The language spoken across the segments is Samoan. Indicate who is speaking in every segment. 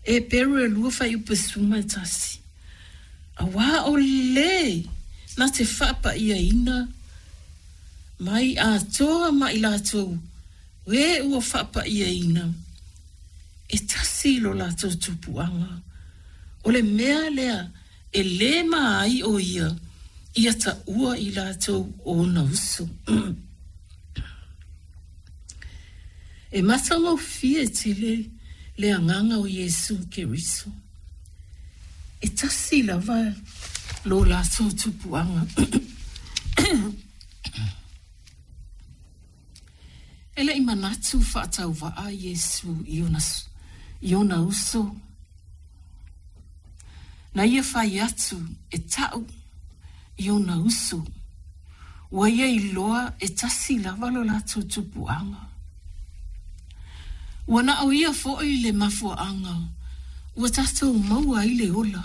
Speaker 1: Eperu e 2 fuaiupu 11. Auā o lē na te faapaʻiaina mai atoa ma i latou e ua faapaʻiaina, e tasi lo latou tupuaga, o le mea lea e lē ma ai o ia ia taʻua i latou o ona uso. E matagofie tele le agaga o Iesu Keriso. E tasi lava lo latou tupuaga. E leʻi manatu faatauvaa Iesu i ona uso. Na ia fai atu e taʻu i ona uso. Ua ia iloa e tasi lava lo latou tupuaga. Ua na o ia foʻi le mafuaaga ua tatou maua ai le ola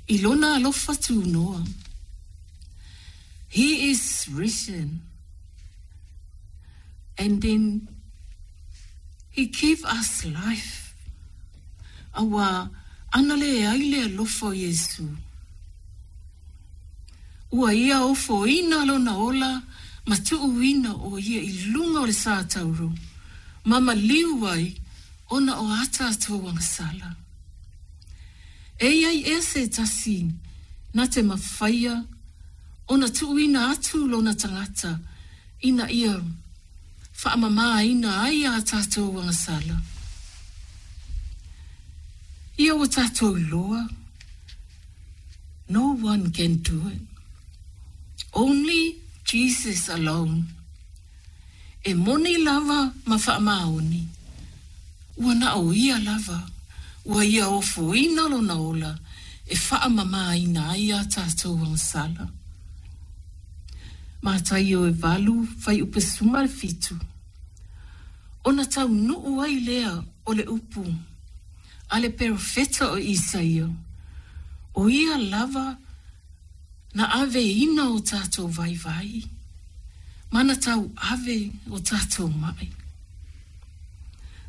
Speaker 1: i lona alofa tunoa. He is risen. And then he give us life. Auā ana leai le alofa o Iesu. Ua ia ofoina lona ola ma tuuina o ia i luga o le satauro ma maliu ai ona o a tatou agasala. E i ai ea se tasi na te mafaia ona tuuina atu lona tagata ina ia faamamāina ai a tatou agasala? Ia ua tatou iloa, no one can do it. Only Jesus alone. E moni lava ma faamaoni, ua na o ia lava, ua ia ofoina lona ola e faamamāina ai a tatou agasala. Mataio e 8 fuaiupu 17. Ona taunuu ai lea o le upu a le perofeta o Isaia, o ia lava na aveina o tatou vaivai, ma na tauave o tatou maʻi.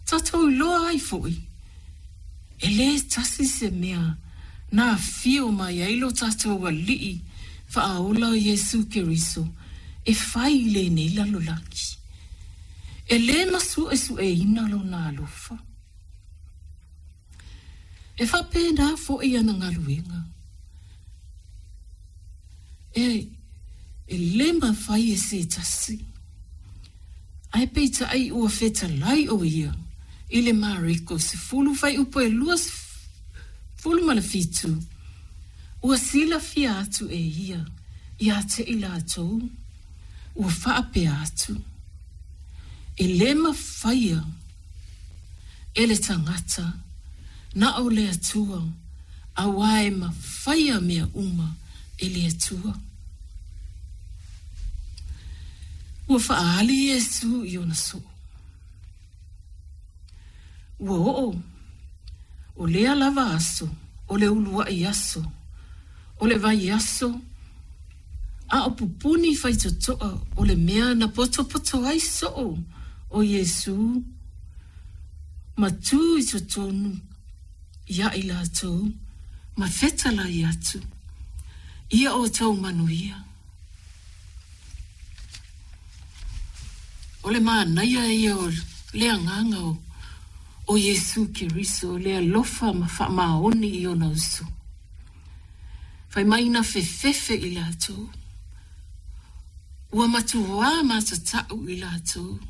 Speaker 1: Tatou iloa ai foʻi, e lē tasi se mea na afio mai ai lo tatou Alii Faaola o Iesu Keriso e fai i lenei lalolagi. E lē masuʻesuʻeina lona alofa. E faapena foʻi ana galuega. E lē mafai e se tasi. Ae peitaʻi ua fetalai o ia i le Mareko 10 fuaiupu e 27, ua silafia atu e ia iā te i latou, ua faapea atu, E lē mafaia e le tagata na o le Atua, auā e mafaia mea uma e le Atua. Ua faaali Iesu i ona soo. Ua oo o lea lava aso, o le uluaʻi aso, o le vaiaso, a o pupuni faitotoa o le mea na potopoto ai soo o Iesu ma tu i totonu iā i latou ma fetalai atu, Ia outou manuia. O le manaia ia o le agaga o Iesu Keriso, le alofa ma faamaoni i ona uso. Fai mai na fefefe i latou, ua matuā matataʻu i latou.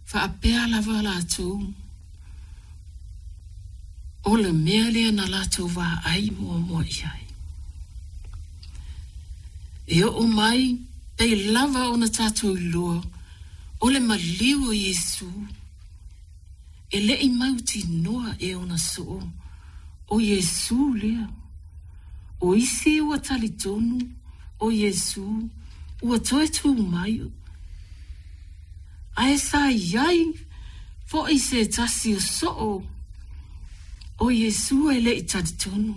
Speaker 1: Faapea lava latou, o le mea lea na latou vaai muamua i ai. E oo mai pei lava ona tatou iloa o le maliu o Iesu, e leʻi mautinoa e ona soo o Iesu lea. O isi ua talitonu o Iesu ua toe tu mai, ae sa i ai foʻi se tasi o soo o Iesu e leʻi talitonu.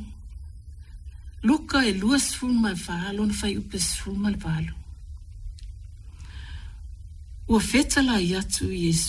Speaker 1: Luka e 24 lona fuaiupu 18. Ua fetalai atu Iesu.